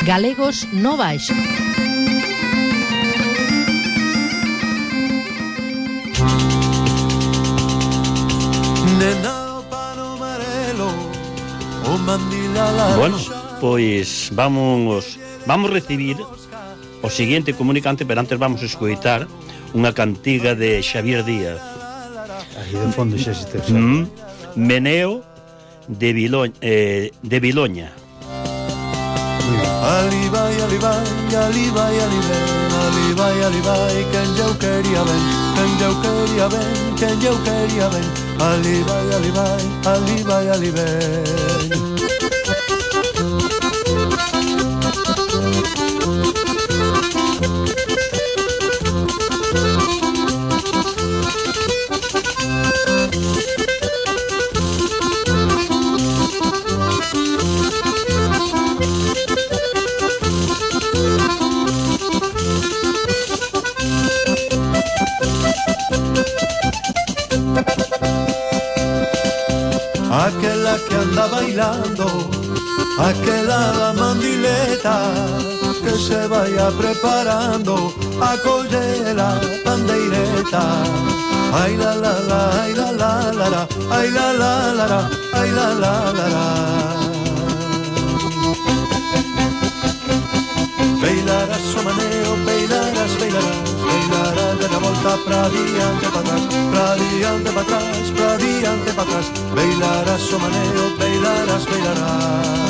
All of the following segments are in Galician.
Galegos no Baixo. Bueno, pois vamos recibir o seguinte comunicante, pero antes vamos a escoitar unha cantiga de Xavier Díaz. Aí de fondo xa se te Meneo de Viloña. Ali vai, ali vai, ali vai, ali vai, ali vai, ali vai, quen eu quería ben, quen eu quería ben, quen eu quería ben, ali vai, ali vai, ali vai, ali vai. Aquela que anda bailando, aquela da mandileta, que se vaya preparando a coller la bandeireta. Ay la la la, ay la la la la, ay la la la la, ay la la la la. Bailarás o maneo, bailarás, bailarás, bailarás de la volta pra diante, pa atrás, pra diante, pa atrás, pra diante, pa atrás. Bailarás o maneo, bailarás, bailarás.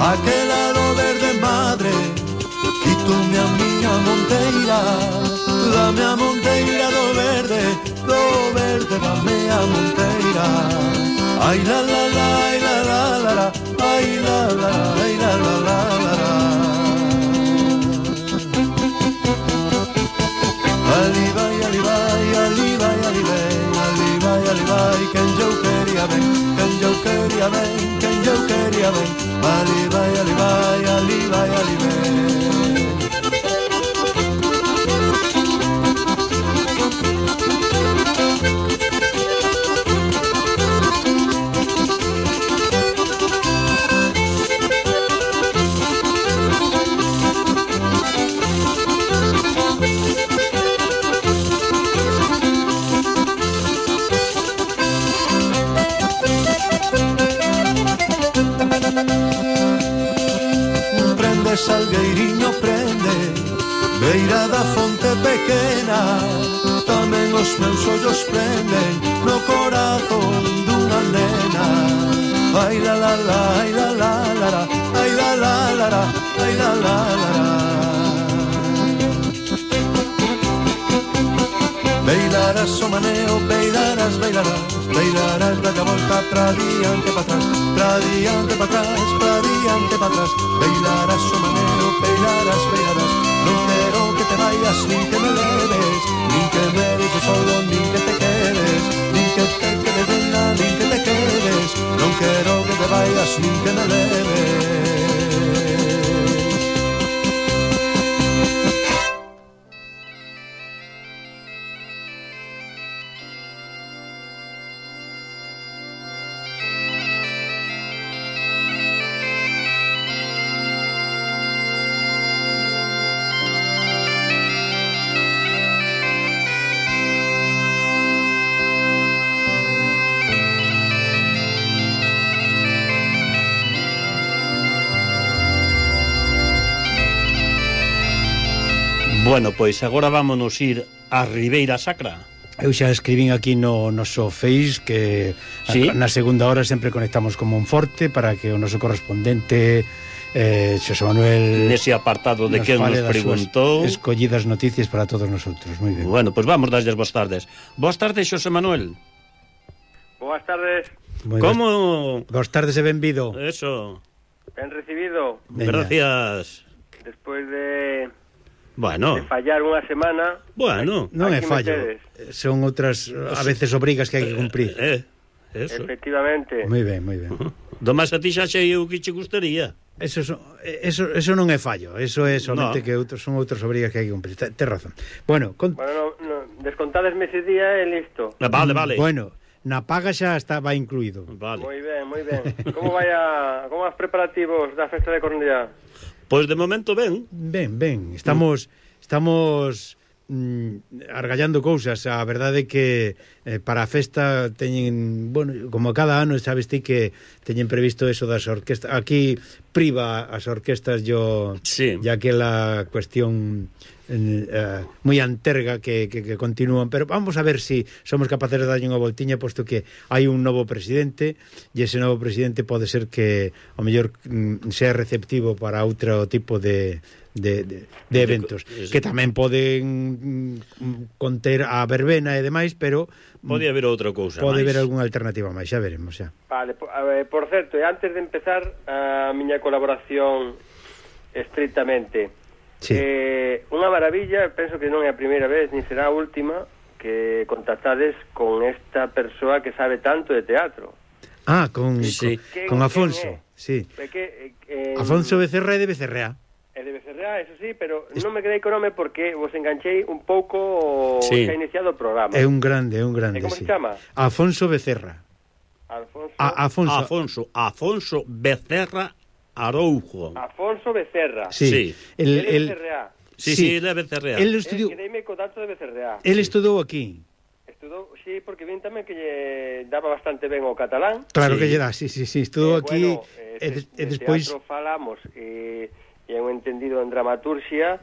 Aquela do verde madre, quítome a miña monteira, dame a monteira do verde dame a monteira. Ai la la la, ai la la la la, ai la la, ai la la la la. Ali vai, ali vai, ali vai, ali vai, ali vai, ali vai, quen eu quería ben, quen eu quería ben, quen eu quería ben. Ali vai, ali vai, ali vai, ali vai. Salgueiriño prende, beira da fonte pequena, tamén os meus ollos prenden no corazón dunha nena. Ai la la la, ai la la la la, ai la la la la, ai la la la la. Bailarás o maneo, bailarás, bailarás, bailarás da volta pra diante, pa atrás, pra diante, pa atrás, pra diante, pa atrás. Bailarás o maneo, bailarás, bailarás. Non quero que te vayas, nin que me leves, nin que me dejes solo, nin que te quedes, nin que te quedes de nada, nin que te quedes. Non quero que te vayas, nin que me leves. Bueno, pois agora vámonos ir a Ribeira Sacra. Eu xa escribín aquí no noso Face que ¿sí? Na segunda hora sempre conectamos con Monforte para que o noso correspondente Xosé Manuel nese apartado de que nos preguntou escollidas noticias para todos nosotros. Moi ben. Bueno, pois vamos darles boas tardes. Boas tardes, Xosé Manuel. Boas tardes. Como? Boas tardes e benvido. Eso. Ben recibido. Gracias. Despois de Bueno. De fallar unha semana. Bueno, non é fallo, son outras a veces obrigas que hai que cumprir. Eso. Efectivamente. Moi ben, moi ben. Do máis a ti xa sei o que che gustaría. Eso non é fallo, eso é somente que son outras obrigas que hai que cumprir. Tes razón. Bueno, no, descontadesme ese día e listo. Vale. Bueno, na paga xa estaba incluído. Vale. Moi ben. Como as preparativos da festa de Cornellá? Pois de momento ben. Ben. Estamos argallando cousas. A verdade é que para a festa teñen, bueno, como cada ano sabes ti que teñen previsto eso das orquestas. Aquí priva as orquestas ya que la cuestión moi anterga que continúan, pero vamos a ver si somos capaces de darlle unha voltiña, posto que hai un novo presidente e ese novo presidente pode ser que ao mellor sea receptivo para outro tipo de eventos que tamén poden conter a verbena e demais, pero pode haber outra cousa pode máis. Haber algunha alternativa máis, xa veremos xa. Vale, por certo, e antes de empezar a miña colaboración estrictamente, sí. Unha maravilla, penso que non é a primeira vez ni será a última que contactades con esta persoa que sabe tanto de teatro. Con Afonso, sí. Afonso Becerra é de Becerrea. É de Becerrea, eso sí, pero non me quedei co nome porque vos enganchei un pouco xa iniciado o programa. É un grande, E como se chama? Afonso Becerra. Afonso Becerra Aroujo. Afonso Becerra. Sí. El de Becerrea. Sí, ele é Becerrea. El estudiou. Quedeime co dato de Becerrea. El estudou aquí. Sí, porque vin tamén que lle daba bastante ben o catalán. Claro que lle dá, sí, estudou aquí e despois teatro falamos e un entendido en dramaturxia,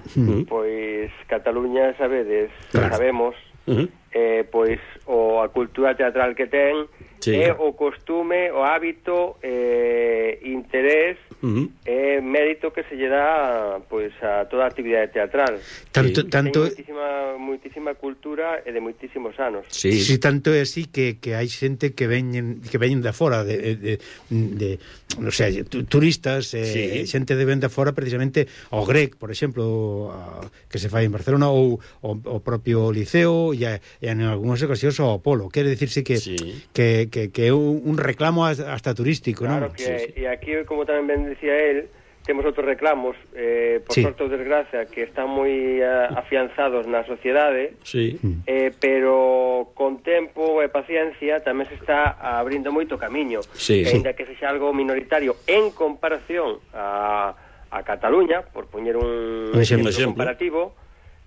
pois Cataluña, sabedes, sabemos, pois a cultura teatral que ten, o costume, o hábito, interés e mérito que se lle dá pois a toda a actividade teatral. Tanto moitísima cultura e de moitísimos anos. Sí, tanto é así que hai xente que veñen de fora non sei, turistas, xente de ven de fora precisamente ao GREC, por exemplo, que se fai en Barcelona, ou o propio Liceo e en algunhas ocasións ao Apolo. Quere dicirse que é un reclamo hasta turístico, claro, non? E aquí, como tamén ben decía él, temos outros reclamos, por sorte ou desgracia, que están moi afianzados na sociedade, pero con tempo e paciencia tamén se está abrindo moito camiño, ainda que sexa algo minoritario en comparación a Cataluña, por poñer un exemplo comparativo.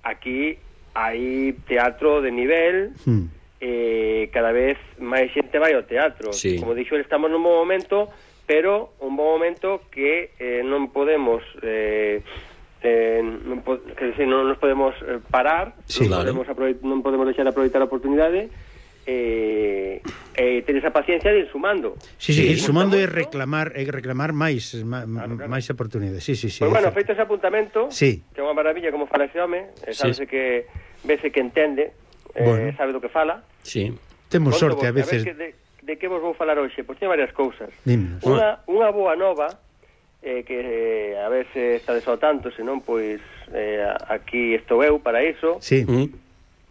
Aquí hai teatro de nivel, cada vez máis xente vai ao teatro. Como dixo, estamos nun bon momento, pero un bon momento que non podemos non nos podemos parar, non podemos deixar de aproveitar a oportunidade e ter esa paciencia de ir sumando. Ir sumando e reclamar máis oportunidades. Pois bueno, feito ese apuntamento, que é unha maravilla como fala ese home, sabese que vese que entende, sabe do que fala. Temos sorte a veces. De que vos vou falar hoxe? Pois teño varias cousas. Dímenos. Unha boa nova, que a ver se estades ao tanto, senón, pois aquí estou eu para iso,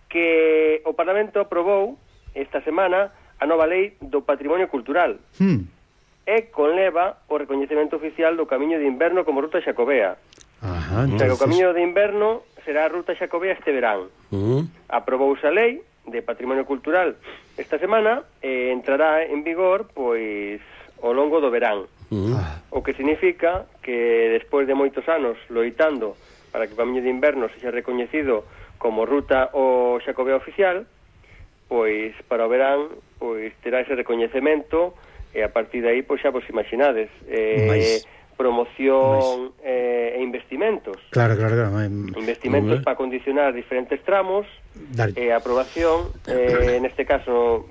que o Parlamento aprobou esta semana a nova lei do patrimonio cultural e conleva o recoñecemento oficial do Camiño de Inverno como ruta xacobea. O Camiño de Inverno será a ruta xacobea este verán. Aprobouse a lei de patrimonio cultural esta semana e entrará en vigor pois ao longo do verán, o que significa que despois de moitos anos loitando para que o Camiño de Inverno sexa recoñecido como ruta o xacobea oficial, pois para o verán pois terá ese recoñecemento e a partir de aí pois xa vos imaginades promoción e investimentos. Claro. Investimentos para condicionar diferentes tramos, aprobación, neste caso,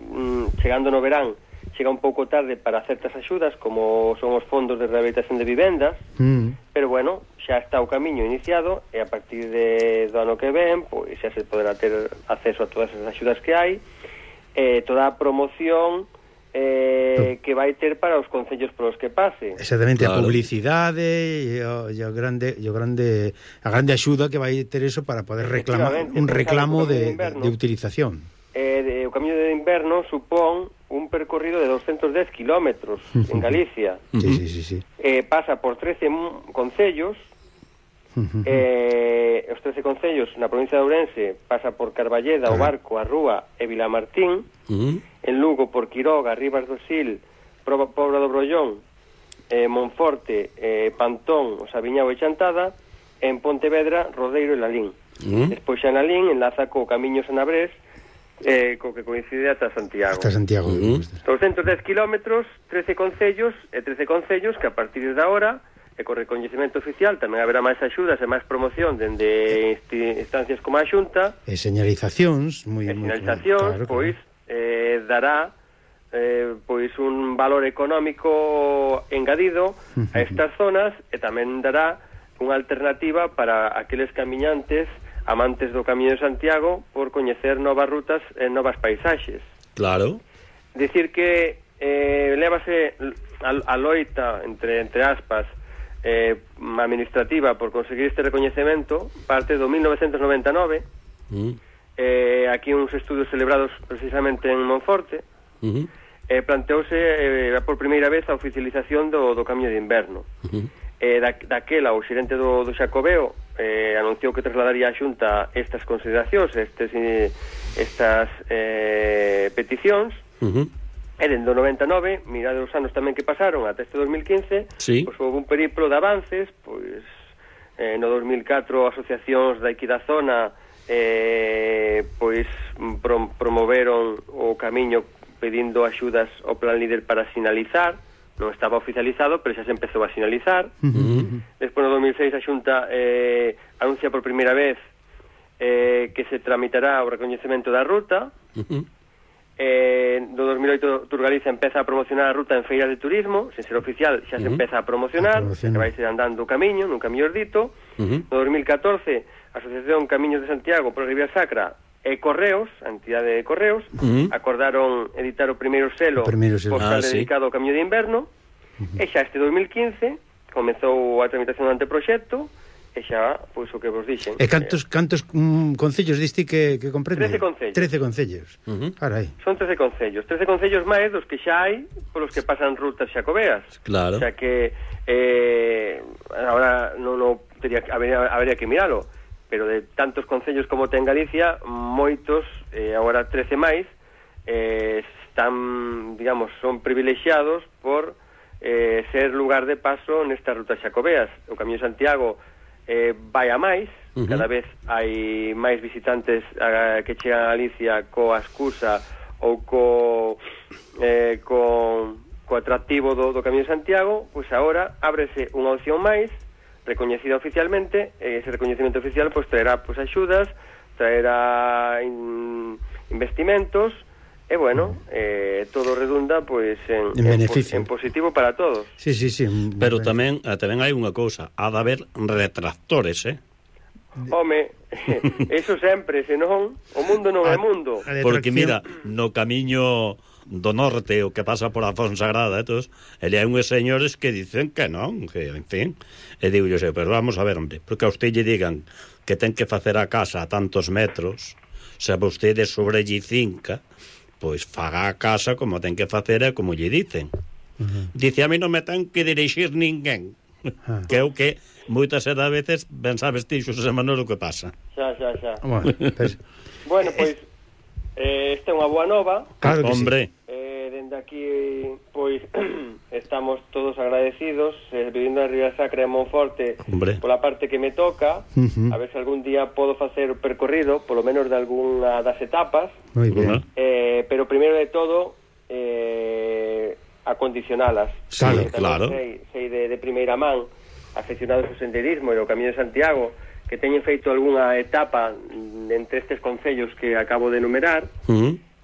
chegando no verán, chega un pouco tarde para certas axudas, como son os fondos de rehabilitación de vivendas, pero bueno, xa está o camiño iniciado, e a partir do ano que ven, pois xa se poderá ter acceso a todas as axudas que hai, toda a promoción que vai ter para os concellos polos que pase. Exactamente, claro. A publicidade e a grande axuda que vai ter eso para poder reclamar un reclamo de utilización. O Camiño de Inverno supón un percorrido de 210 kilómetros en Galicia. Sí. Pasa por 13 concellos. Os 13 concellos na provincia de Ourense pasa por Carballeda, O Barco, A Rúa e Vilamartín. En Lugo por Quiroga, Ribas do Sil, Pobra do Brollón, Monforte, Pantón, O Sabiñao e Chantada. En Pontevedra, Rodeiro e Lalín. Despois xa en Lalín enlaza co Camiño Sanabrés, co que coincide ata Santiago. Hasta Santiago. 210 kilómetros, 13 concellos que a partir de agora, e co recoñecemento oficial tamén haberá máis axudas e máis promoción dende instancias como a Xunta. E señalizacións, claro, pois dará pois un valor económico engadido a estas zonas e tamén dará unha alternativa para aqueles camiñantes amantes do Camiño de Santiago por coñecer novas rutas e novas paisaxes. Claro. Dicir que lévase a loita entre aspas administrativa por conseguir este recoñecemento parte do 1999. Aquí uns estudios celebrados precisamente en Monforte. Planteouse por primeira vez a oficialización do Camiño de Inverno. Daquela o xerente do Xacobeo anunciou que trasladaría a Xunta estas consideracións, estas peticións. E dende o 99, mirade os anos tamén que pasaron ata este 2015, pois houve un periplo de avances, pois no 2004 asociacións daqui da zona pois promoveron o camiño pedindo axudas ao Plan Líder para sinalizar. Non estaba oficializado, pero xa se empezou a sinalizar. Despois no 2006 a Xunta anuncia por primeira vez que se tramitará o recoñecemento da ruta. No 2008 Turgaliza empeza a promocionar a ruta en feiras de turismo, sen ser oficial xa se empeza a promocionar, que vai ser andando o camiño, nun camiño dito. No 2014 a Asociación Camiños de Santiago por Ribeira Sacra e Correos, a entidade de Correos, acordaron editar o primeiro selo postal dedicado ao Camiño de Inverno, e xa este 2015 comezou a tramitación do anteproxecto, e xa, pois, o que vos dixen. E cantos concellos diste que comprende? 13 concellos. 13 concellos. Carai. Son 13 concellos máis dos que xa hai polos que pasan rutas xacobeas. Claro. O sea que agora non habería que miralo, pero de tantos concellos como ten Galicia, moitos, agora 13 máis, están, digamos, son privilexiados por ser lugar de paso nestas rutas xacobeas. O Camiño de Santiago vai a máis, cada vez hai máis visitantes que chegan a Galicia coa excusa ou co atractivo do Camiño de Santiago. Pois agora ábrese unha opción máis recoñecida oficialmente, e ese recoñecemento oficial pois traerá pois axudas, traerá investimentos, e bueno, todo redunda pois en positivo para todos. Sí. Pero tamén hai unha cousa, ha de haber retractores, Home, eso sempre, senón o mundo non é mundo. Porque mira, no camiño do norte, o que pasa por a Fonsagrada, ele hai unhos señores que dicen que non, que, en fin, e digo yo, pero vamos a ver, hombre, porque a usted lle digan que ten que facer a casa a tantos metros, se a vostede sobre lle cinca, pois faga a casa como ten que facer e como lle dicen. Dice, a mí non me ten que dirixir ninguén, que é o que moitas veces ben sabes ti, Xosé Manuel, o que pasa. Xa. Bueno, pois esta é unha boa nova. Claro que hombre. Dende aquí, pois, estamos todos agradecidos, vivindo en Ribeira Sacra e Monforte, pola parte que me toca, a ver se algún día podo facer o percorrido, polo menos de algunha das etapas. Moi ben. Pero primeiro de todo, acondicionalas. Claro. Sei de primeira man, afeccionados ao senderismo e ao Camiño de Santiago, que teñen feito algunha etapa entre estes concellos que acabo de enumerar,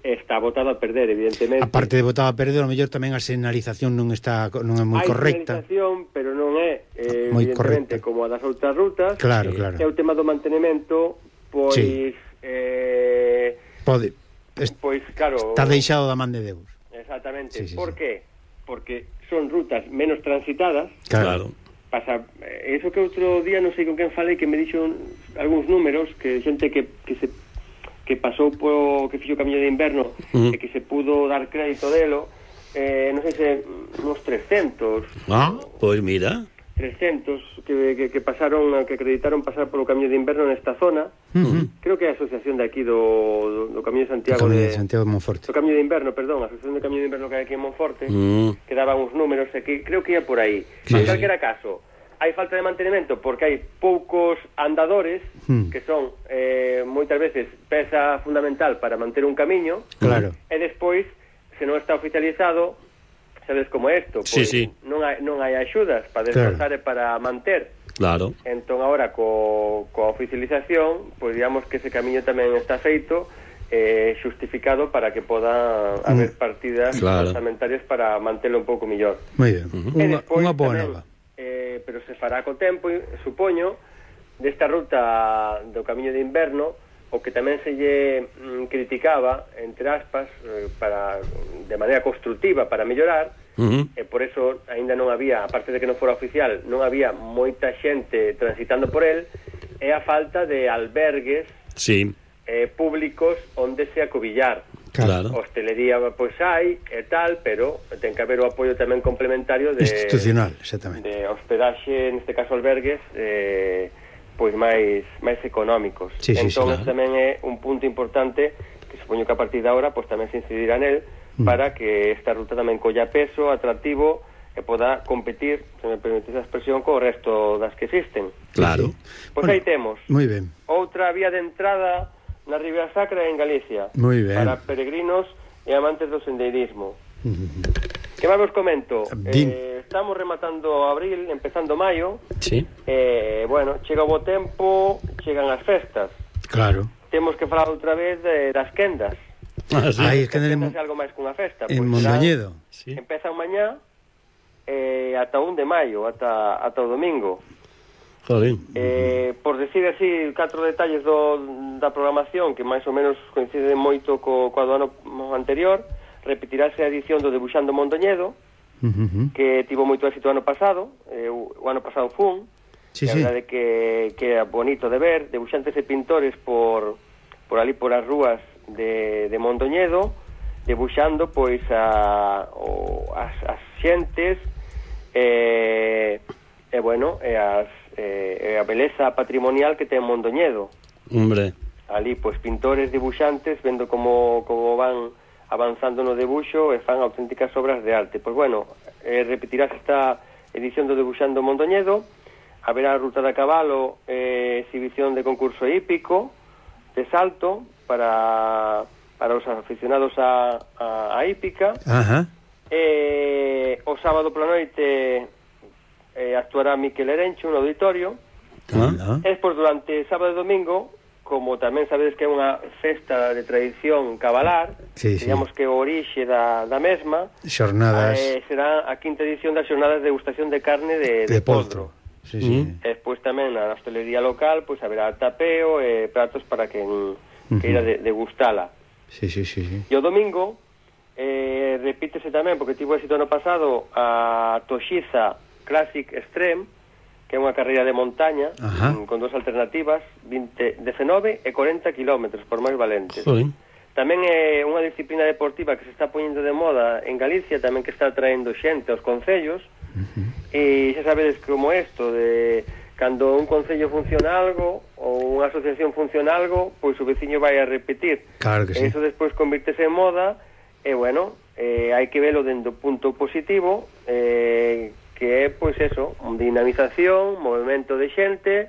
está botado a perder, evidentemente. A parte de botado a perder, ao mellor tamén a señalización non é moi correcta. Hai señalización, pero non é evidentemente correcta, como a das outras rutas. Claro. É o tema do mantenimento, pois... Pode. Pois, claro... Está deixado da man de Deus. Exactamente. Por qué? Porque son rutas menos transitadas. Claro. Pasa, eso que outro día non sei con quen falei, que me dixo algúns números, que xente que pasou que fixo o camiño de inverno e que se pudo dar crédito delo, non sei se uns 300. Pois mira, 300 que pasaron, que acreditaron pasar polo camiño de inverno nesta zona. Creo que é a asociación de aquí do Camiño de Santiago, de Santiago de Monforte. Do Camiño de Inverno, perdón, a asociación de Camiño de Inverno que hai aquí en Monforte, que daban uns números, e que creo que ia por aí. En calquera caso, hai falta de mantenimento porque hai poucos andadores que son moitas veces peza fundamental para manter un camiño. Claro. E despois, se non está oficializado, sabes como é isto, pois non hai axudas para desplazar e para manter. Claro. Entón agora coa oficialización, pois digamos que ese camiño tamén está feito, xustificado para que poda haber partidas orzamentarias para mantelo un pouco mellor. Moi ben. Unha boa nova. Pero se fará co tempo, supoño, desta ruta do camiño de inverno, o que tamén se lle criticaba, entre aspas, de maneira constructiva para mellorar, e por eso aínda non había, aparte de que non fora oficial, non había moita xente transitando por el, é a falta de albergues públicos onde se acobillar. Claro. Hostelería pois hai e tal, pero ten que haber o apoio tamén complementario de institucional, exactamente, de hospedaxe, neste caso albergues, pois máis económicos. Entón tamén é un punto importante que supoño que a partir de agora pois tamén se incidirá nel para que esta ruta tamén colla peso, atractivo e poda competir, se me permite esa expresión, co resto das que existen. Claro. Pois aí temos. Moi ben. Outra vía de entrada na Ribeira Sacra en Galicia. Moi ben. Para peregrinos e amantes do sendeirismo. Que máis vos comento? Estamos rematando abril, empezando maio. Bueno, chega o bo tempo, chegan as festas. Claro. Temos que falar outra vez das quendas. Es que algo máis cunha festa. En Mondoñedo. Empeza mañá ata 1 de maio, ata o domingo. Por decir así 4 detalles da programación que máis ou menos coinciden moito co do ano anterior, repetirase a edición do Debuxando Mondoñedo, que tivo moito éxito o ano pasado. O ano pasado fun, a verdade que é bonito de ver, debuxantes e pintores por ali por as rúas de Mondoñedo, debuxando pois as xentes a beleza patrimonial que ten Mondoñedo. Ali pois pintores, debuxantes, vendo como van avanzando no debuxo e fan auténticas obras de arte. Pois bueno, repetirás esta edición do Debuxando Mondoñedo, haberá ruta de cabalo, exhibición de concurso hípico de salto para os aficionados a hípica. O sábado pola noite actuará Miquel Erencho no auditorio. E despois durante sábado e domingo, como tamén sabedes que é unha festa de tradición cabalar, digamos que o orixe da mesma, xornadas, será a 5ª edición das xornadas de degustación de carne de poltro. Despois tamén na hostelería local pois haberá tapeo e pratos para quen queira degustala. E o domingo repítese tamén, porque tivo éxito ano pasado, a Toxiza Classic Extreme, que é unha carreira de montaña con 2 alternativas, 19 e 40 kilómetros por máis valentes. Tamén é unha disciplina deportiva que se está poñendo de moda en Galicia, tamén que está traendo xente aos concellos. E xa sabedes como isto de cando un concello funciona algo ou unha asociación funciona algo, pois o veciño vai a repetir. Claro que sí. E iso despois convirtese en moda e bueno, hai que velo dentro do punto positivo, que é, pois eso, dinamización, movimento de xente,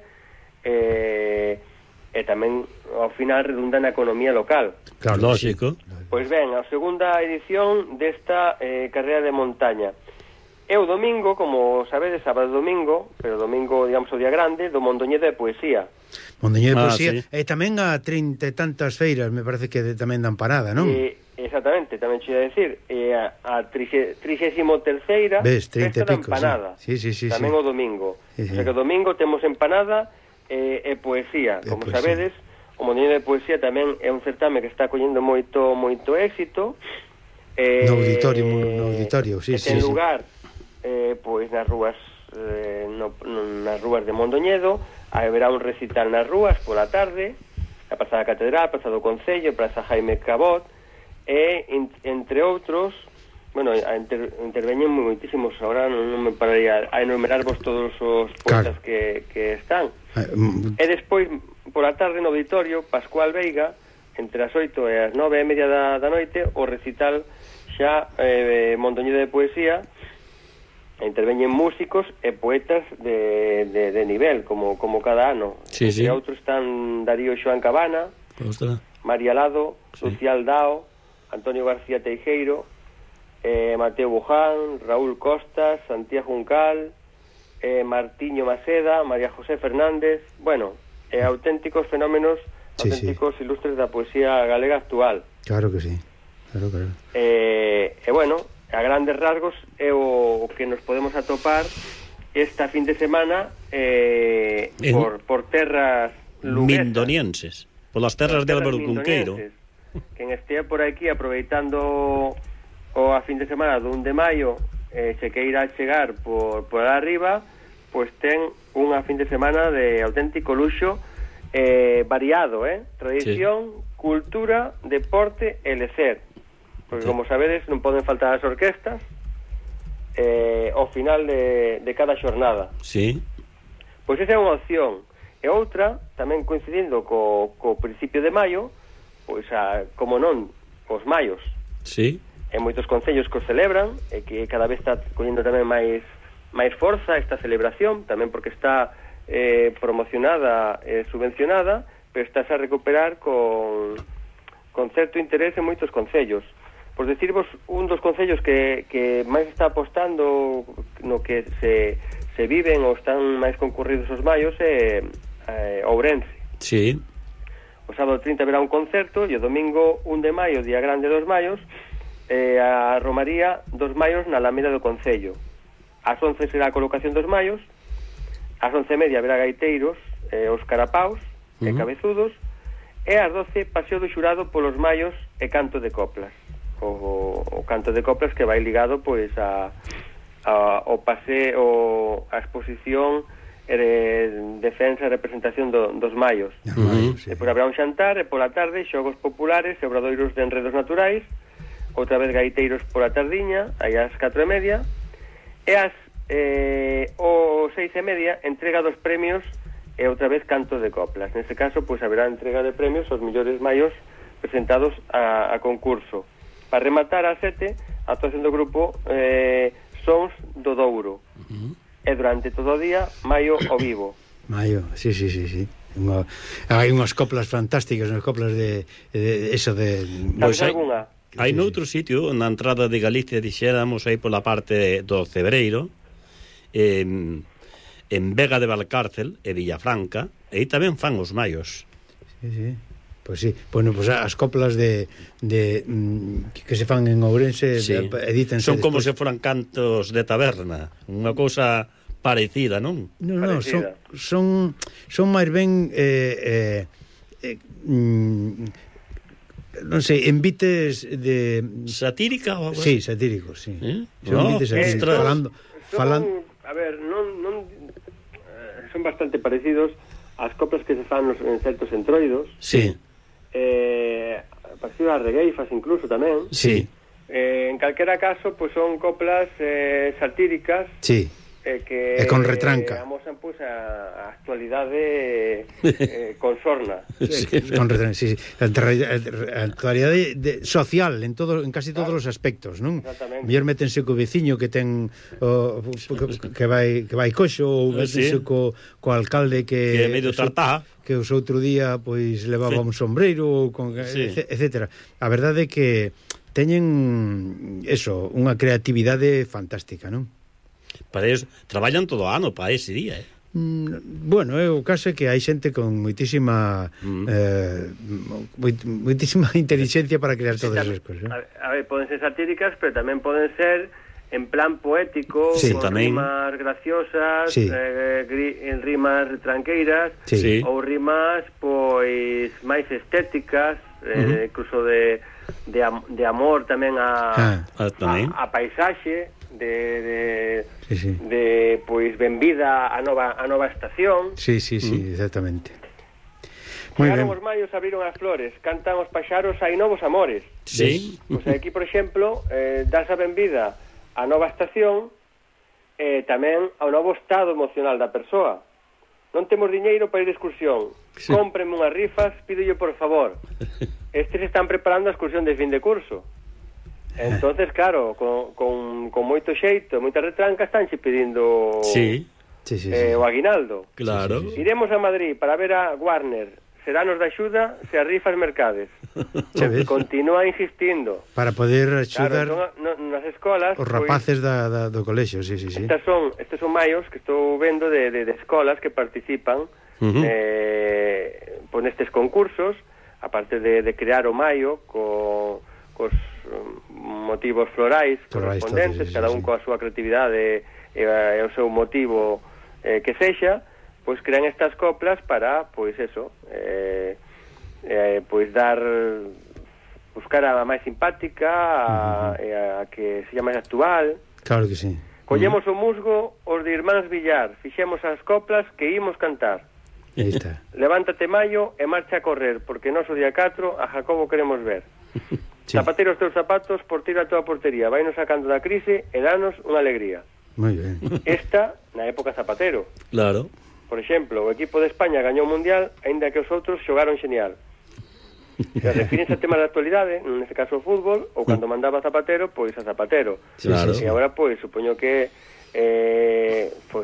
e tamén, ao final, redunda na economía local. Claro, lógico. Pois ben, a segunda edición desta carreira de montaña. É o domingo, como sabedes, sábado e domingo, pero domingo, digamos, o día grande, do Mondoñedo de Poesía. Mondoñedo de Poesía, e tamén a 30 e tantas feiras, me parece que tamén dan parada, non? Exactamente, tamén che ia decir, a 33ª festa da empanada. Tamén o domingo. O sea que o domingo temos empanada e poesía. Como sabedes, o Mondoñedo de Poesía tamén é un certame que está collendo moito éxito, No auditorio, sí, ten lugar pois nas rúas nas rúas de Mondoñedo. Haberá un recital nas rúas pola tarde, a Praza da Catedral, Praza do Concello, Praza Jaime Cabot, e entre outros, bueno, interveñen moitísimos, agora non me pararía a enumerarvos todos os poetas que están. E despois, pola tarde no auditorio, Pascual Veiga, entre as 8 e as 9:30 da noite, o recital xa Mondoñedo de Poesía. Interveñen músicos e poetas de nivel, como cada ano. Sí. E outros están Darío Xoán Cabana, María Lado, Lucía Aldao, Antonio García Teijeiro, Mateo Buján, Raúl Costas, Santiago Juncal, Martiño Maceda, María José Fernández, bueno, auténticos fenómenos, auténticos ilustres da poesía galega actual. Claro que sí, claro. Bueno, a grandes rasgos é o que nos podemos atopar esta fin de semana por terras luguesas, mindonienses, polas terras de Álvaro Cunqueiro. Quen estea por aquí aproveitando a fin de semana do 1 de maio, se queira chegar por arriba, pois ten unha fin de semana de auténtico luxo, variado, tradición, cultura, deporte e lecer. Porque, como sabedes, non poden faltar as orquestas ao final de cada xornada. Sí. Pois esa é unha opción. E outra, tamén coincidindo co principio de maio, pois, como non, os maios. Sí. E moitos concellos que os celebran, e que cada vez está collendo tamén máis forza esta celebración, tamén porque está promocionada e subvencionada, pero está a recuperar con certo interés en moitos concellos. Por decirvos, un dos concellos que máis está apostando no que se viven ou están máis concurridos os maios é Ourense. Sí. O sábado 30 haberá un concerto e o domingo 1 de maio, día grande dos maios, a Romaría dos Maios na Alameda do Concello. Ás 11 será a colocación dos maios, ás 11:30 haberá gaiteiros, os carapaus e cabezudos, e ás 12 paseo do xurado polos maios e canto de coplas. O canto de coplas que vai ligado pois ao paseo, a exposición defensa e representación dos maios. Depois habrá un xantar e pola tarde xogos populares e obradoiros de enredos naturais, outra vez gaiteiros pola tardiña, aí ás 4:30, e ás 6:30 entrega dos premios e outra vez canto de coplas. Neste caso, pois haberá entrega de premios aos millores maios presentados a concurso. Para rematar a 7, a actuación do grupo Sons do Douro. E durante todo o día, Maio ao vivo. Maio, sí. Hai unhas coplas fantásticas, unhas coplas de eso de... Sabes alguna? Hai noutro sitio, na entrada de Galicia, dixéramos, aí pola parte do Cebreiro, en Vega de Valcárcel e Villafranca, e aí tamén fan os maios. Sí. Pois sí, bueno, pues as coplas que se fan en Ourense edítanse. Son como se foran cantos de taberna, unha cousa parecida, non? Non, son máis ben non sei, envites de satírica ou algo? Sí, satíricos, sí. Son envites satíricos, falando. A ver, non son bastante parecidos ás coplas que se fan en certos entroidos. Sí. Parecido ás regueifas incluso tamén. Sí. En calquera caso, pois son coplas satíricas. Sí. Que con retranca amosan pois a actualidade consorna. Con retranca, sí. A actualidade social en casi todos os aspectos, non? Mellor métense co veciño que ten que vai coxo, ou métense co alcalde que é medio tartá, que os outro día pois levaba un sombreiro, etcétera. A verdade é que teñen eso, unha creatividade fantástica, non? Para eso, traballan todo o ano para ese día, Bueno, o caso é que hai xente con moitísima moitísima inteligencia para crear todas esas cosas. A ver, poden ser satíricas, pero tamén poden ser en plan poético, con rimas graciosas, en rimas tranqueiras, ou rimas pois máis estéticas, incluso de de amor tamén a paisaxe, de pois benvida a nova estación. Sí, exactamente. Chegaron os maios, abriron as flores, cantan os paxaros, hai novos amores. Sí. Pois aquí, por exemplo, das a benvida a nova estación, tamén ao novo estado emocional da persoa. Non temos diñeiro para ir de excursión. Cómprenme unhas rifas, pídolle por favor. Estes están preparando a excursión de fin de curso. Entonces, claro, con moito xeito, moita retranca, estánche pedindo o aguinaldo. Claro. Iremos a Madrid para ver a Warner. Seranos de axuda se as rifas mercades. Continúa insistindo. Para poder axudar, claro, nas escolas os rapaces do colexio, sí. Estes son maios que estou vendo de escolas que participan nestes concursos, aparte de crear o maio cos motivos florais correspondentes, cada un coa súa creatividade e o seu motivo que sexa, pois crean estas coplas para, pois eso, pois buscar a máis simpática, a que sexa máis actual. Claro que sí. Collemos o musgo os de Irmáns Villar, fixemos as coplas que imos cantar. Aí está. Levántate Maio e marcha a correr, porque noso día 4 a Jacobo queremos ver. Zapatero os teus zapatos, porteiro a toda portería, vai nos sacando da crise e danos unha alegría. Moi ben. Esta, na época Zapatero. Claro. Por exemplo, o equipo de España gañou o Mundial, aínda que os outros xogaron xenial. Se refirense a temas de actualidade, neste caso o fútbol, ou cando mandaba Zapatero, pois a Zapatero. Claro. E agora, pois, supoño que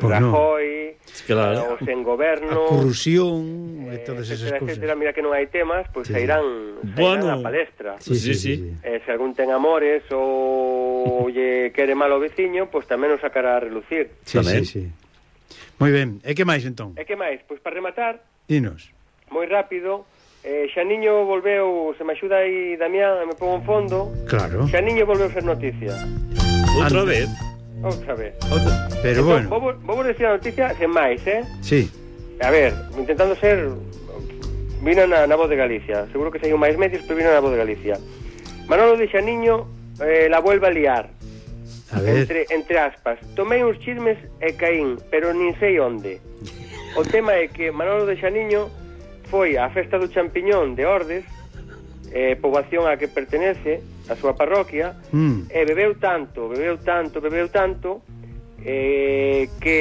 Rajoy, claro, o sen goberno, a corrupción e todas esas cousas, etcétera. Mira que non hai temas, pois sairán a palestra. Sí. Se algún ten amores ou lle quere mal o veciño, pois tamén o sacará a relucir. Sí. Moi ben, e que máis entón? E que máis? Pois para rematar, dinos. Moi rápido, Xaniño volveu, se me axuda aí Damián, me pongo en fondo. Claro. Xaniño volveu ser noticia. Outra vez. Pero entón, bueno. vou decir a noticia sen máis, Sí. A ver, intentando ser... Vino na Voz de Galicia. Seguro que saiu máis medios, pero vino na Voz de Galicia. Manolo de Xaniño la vuelve a liar. A ver. Entre aspas. Tomei uns chismes e caín, pero nin sei onde. O tema é que Manolo de Xaniño foi á festa do champiñón de Ordes, poboación a que pertenece, a súa parroquia, e bebeu tanto, que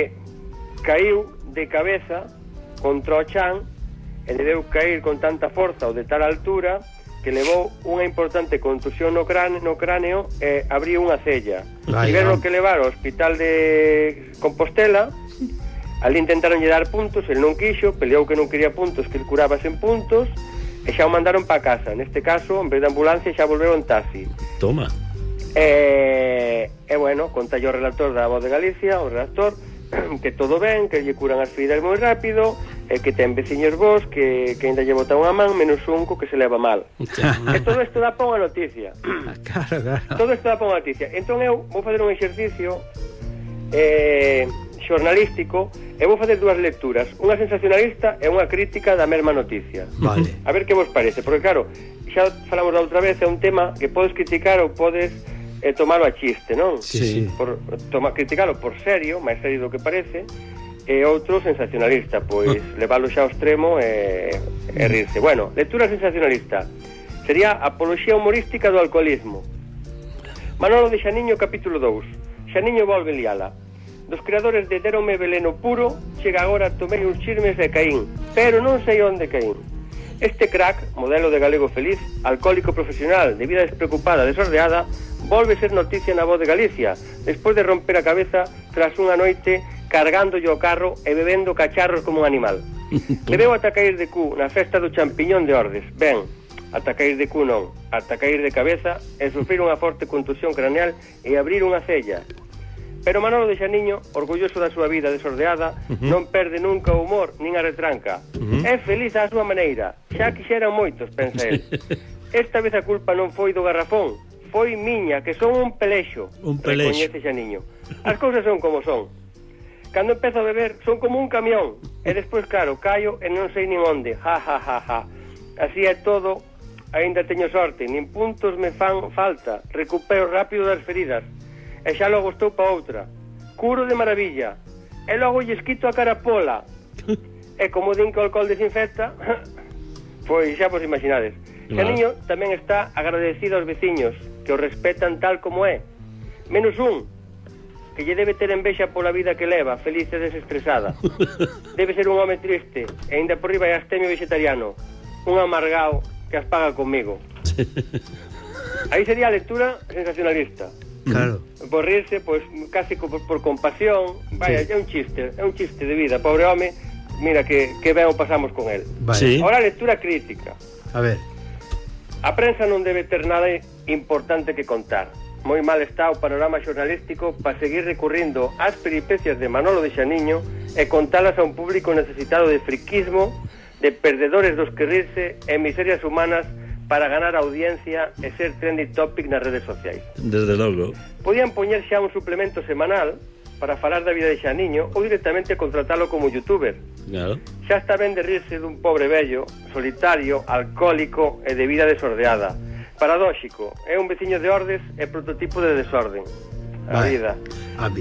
caiu de cabeza contra o chan e le deu cair con tanta forza ou de tal altura que levou unha importante contusión no cráneo e abriu unha cella. Tiveron que levar ao hospital de Compostela. Ali intentaron lle dar puntos, el non quixo, peleou que non quería puntos, que el curaba sen puntos, e xa o mandaron pa casa. Neste caso, en vez de ambulancia, xa volveu en taxi. Toma. E bueno, conta o relator da Voz de Galicia, o redactor, que todo ben, que lle curan as feridas moi rápido, e que ten veciños vos que ainda lle botan unha man, menos un que se leva mal. E todo isto dá pa unha noticia. Claro. Todo isto dá pa unha noticia. Entón eu vou fazer un exercicio xornalístico e vou facer dúas lecturas, unha sensacionalista e unha crítica da mesma noticia. Vale. A ver que vos parece, porque claro, xa falamos da outra vez, é un tema que podes criticar ou podes tomalo a chiste, non? Sí. Criticalo por serio, máis serio do que parece, e outro sensacionalista, pois leválo xa ao extremo e rirse. Bueno, lectura sensacionalista sería Apoloxía humorística do alcoholismo. Manolo de Xaniño, capítulo 2. Xaniño volve liala. Dos creadores de Deronme Veleno Puro, chega agora tomei uns chismes de Caín, pero non sei onde Caín. Este crack, modelo de galego feliz, alcohólico profesional, de vida despreocupada, desordeada, volve ser noticia na Voz de Galicia, despois de romper a cabeza tras unha noite cargándolle o carro e bebendo cacharros como un animal. Bebeu ata cair de cu na festa do champiñón de Ordes. Ben, ata cair de cu non, ata cair de cabeza e sufrir unha forte contusión craneal e abrir unha cella. Pero Manolo de Xaniño, orgulloso da súa vida desordeada, non perde nunca o humor nin a retranca. É feliz á súa maneira, xa quixeran moitos, pensa el. Esta vez a culpa non foi do garrafón, foi miña, que son un pelexo. Recoñece Xaniño. As cousas son como son. Cando empezo a beber, son como un camión. E despois, claro, caio e non sei nin onde. Ja. Así é todo aínda teño sorte, nin puntos me fan falta, recupero rápido das feridas, e xa logo estou pa outra. Curo de maravilla, e logo lle esquito a carapola. E como din que o alcohol desinfecta, pois xa vos imaginades. Xaniño tamén está agradecido aos veciños, que o respetan tal como é. Menos un, que lle debe ter envexa pola vida que leva, feliz e desestresada. Debe ser un home triste, e ainda por riba é astemio vegetariano, un amargao que as paga comigo. Aí sería a lectura sensacionalista. Claro. Por rirse, pois, casi por compasión. Vaya, sí. É un chiste de vida. Pobre home, mira que ben o pasamos con él. Vale. Sí. Ahora a lectura crítica. A ver. A prensa non debe ter nada importante que contar. Moi mal está o panorama xornalístico para seguir recurrindo ás peripecias de Manolo de Xaniño e contalas a un público necesitado de friquismo, de perdedores dos que rirse e miserias humanas para ganar audiencia e ser trending topic nas redes sociais. Desde logo. Podían poñer xa un suplemento semanal para falar da vida de Xaniño ou directamente contratalo como youtuber. Claro. Xa está ben de rirse dun pobre vello, solitario, alcohólico e de vida desordeada. Paradóxico, é un veciño de Ordes e prototipo de desorden. A vida.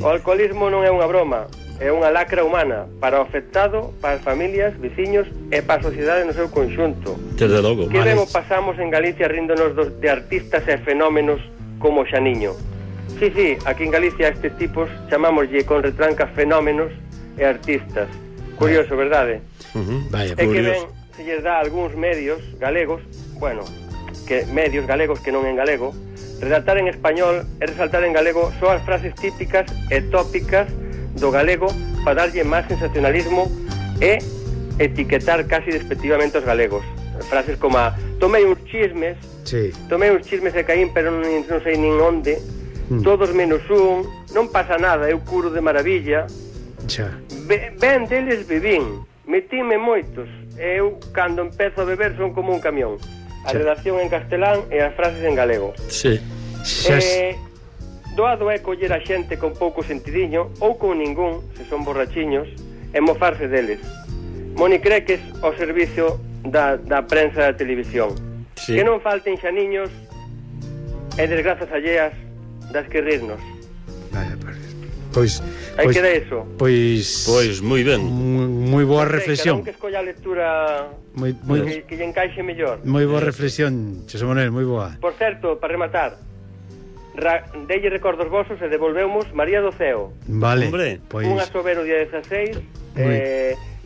O alcoholismo non é unha broma, é unha lacra humana para o afectado, para as familias, veciños e para a sociedade no seu conxunto. Desde logo. Que ben o pasamos en Galicia ríndonos de artistas e fenómenos como Xaniño. Sí, aquí en Galicia estes tipos chamámoslle con retranca fenómenos e artistas. Curioso, verdade? Vaya, é que ben se lles dá algúns medios galegos, bueno, que medios galegos que non en galego, redactar en español e resaltar en galego só as frases típicas e tópicas do galego para darlle máis sensacionalismo e etiquetar casi despectivamente os galegos. Frases como a, tomei uns chismes e caín pero non sei nin onde, todos menos un, non pasa nada, eu curo de maravilla. Ben deles bebín, metíme moitos, e eu cando empezo a beber son como un camión. A redacción en castelán e as frases en galego. Sí. Doado é coller a xente con pouco sentidiño ou con ningún, se son borrachiños, e mofarse deles. Moni Creques ao servicio da prensa da televisión. Sí. Que non falten xaniños e desgrazas alleas das que rirnos. Vaya, pois aí queda eso. Pois moi ben. Moi boa reflexión. Cada un que escolla a lectura que lle encaixe mellor. Moi boa reflexión, Xosé Manuel, moi boa. Por certo, para rematar, delle recordos vosos e devolvemos María do Ceo. Vale. Pois unha sobero día 16,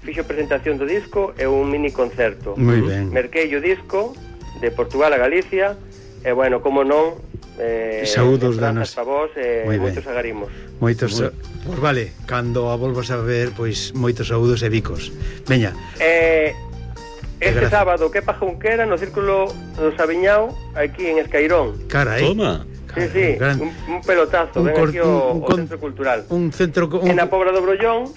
fixo presentación do disco e un mini concerto. Moi ben. Merquei o disco de Portugal a Galicia e, bueno, como non, saúdos danos para vos e moitos agarimos. Moitos, pois vale, cando a volvos a ver, pois moitos saúdos e bicos. Veña. Este sábado, que pa Junquera, no Círculo do Sabiñao, aquí en Escairón. Carai. Toma. Sí, un pelotazo, ven aquí o Centro Cultural. Un centro... En a Pobra do Brollón,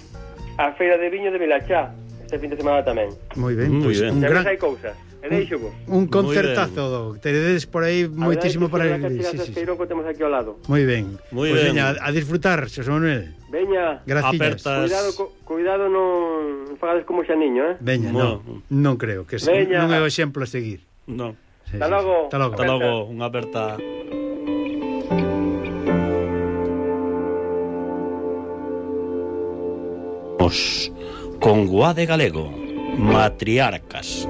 a Feira de Viño de Vilachá, este fin de semana tamén. Moi ben, pois un gran... hai cousas. Un concertazo, teredes por aí moitísimo para ir. Escairón que temos aquí ao lado. Moi ben. Pois veña, a disfrutar, Xosé Manuel. Veña. Gracias. Cuidado, non fagades como Xaniño, Veña, non creo que non é o exemplo a seguir. Non. Hasta logo. Hasta logo, unha aperta. Con Guade Galego, Matriarcas.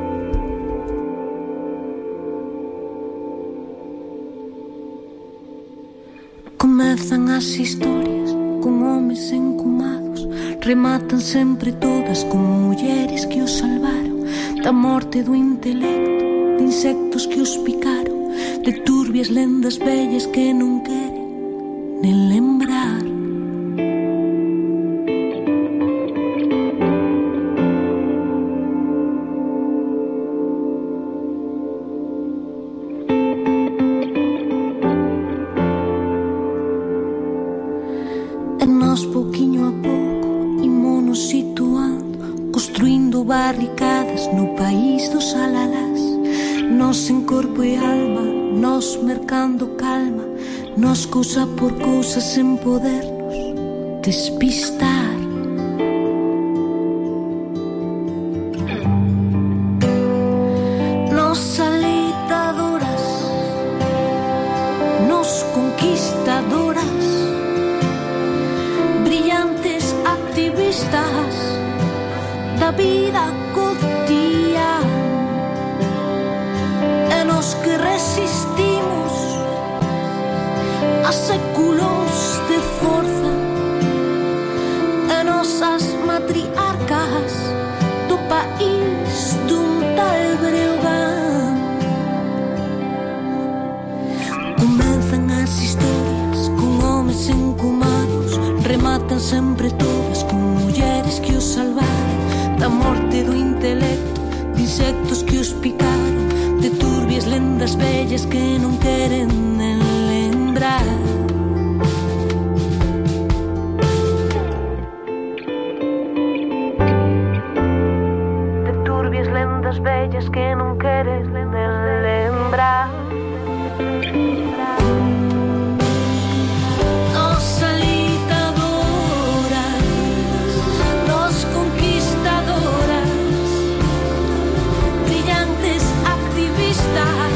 Comezan as historias con homes encumados, rematan sempre todas con mulleres que os salvaron da morte do intelecto, de insectos que os picaron, de turbias lendas vellas que non queren nen lembrar. Barricadas no país dos alalás, nos en corpo e alma, nos mercando calma, nos cousa por cousa sen podernos despistar. Nos salita da vida cotidiana e nos que resistimos a séculos de forza e nosas matriarcas do país dun tal Breogán. Comenzan as historias con homes encumados, rematan sempre todas con mulleres que os salvaron da morte do intelecto, de insectos que os picaron, de turbias lendas vellas que non queren nen lembrar. De turbias lendas vellas que non queres nen lembrar. Stop.